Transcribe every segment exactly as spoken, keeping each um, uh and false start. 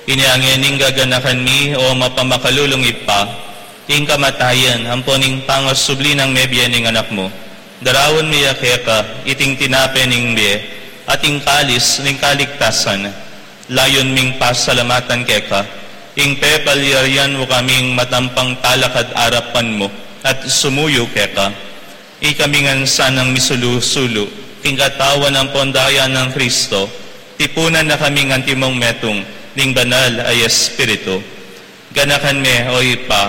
Inya ngeni gaganakan mi, o mapamakalulung Ibpa, ing kamatayan ampo ning pangasubli nang mebie ning Anak mu. Daraun mi ya keka iting tinape ning bie at ing kalis ning kaligtasan. Layun ming pasalamatan keka ing pepalyarian mu kaming matampang talakad arapan mu at sumuyu keka. Ikami ngan sanang misulu-sulu king katawan ampon daya nang Kristo, tipunan na kaming antimong metung ning Banal a Espiritu. Ganakan me, o Ibpa,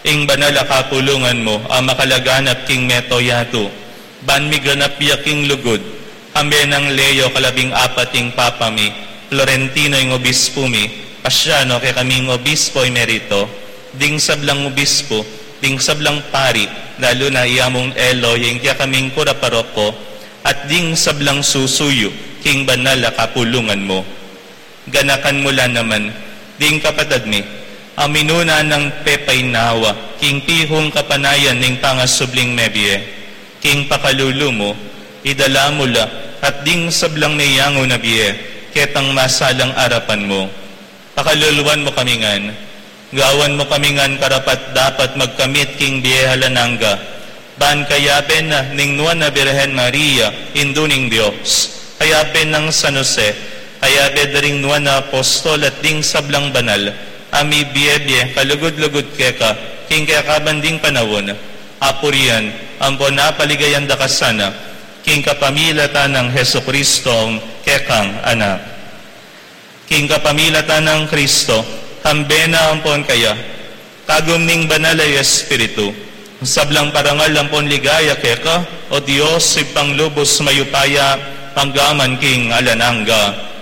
ing banal a kapulungan mu a makalaganap king mabilug a yatu, ban miganap ya king lugud, kambe nang Leo kalabing apat ing Papa mi, Florentino ing Obispu mi, Paciano kekaming Obispo Emerito, ding sablang obispu, ding sablang pari, lalu na i Among Elo, ing kekaming kura paroko, at ding sablang susuyu king banal a kapulungan mu. Ganakan mu la naman ding kapatad mi a minuna nang pepainawa king pihung kapanayan ning pangasubling mebie. King pakalulu mu, idala mu la at ding sablang meyangu na bie ketang masalang arapan mu. Pakaluluan mu kami ngan, gawan mu kami ngan karapat-dapat magkamit king bie alang angga, ban kayabe na ning Nuan a Birhen Maria, Indu ning Dios, kayabe nang San Jose, kayabe da ring nuan a apostol at ding sablang banal a mibiebie kalugud-lugud keka king kekaban ding panaun, apurian ampon apaligayan da ka sana king kapamilatan nang Jesucristo, kekang Anak. King kapamilatan nang Kristo, kambe na ampon kaya, kagum ning Banal a Espiritu, sablang parangal ampon ligaya keka, o Dios, Ibpang lubus mayupaya, angga man king alang angga.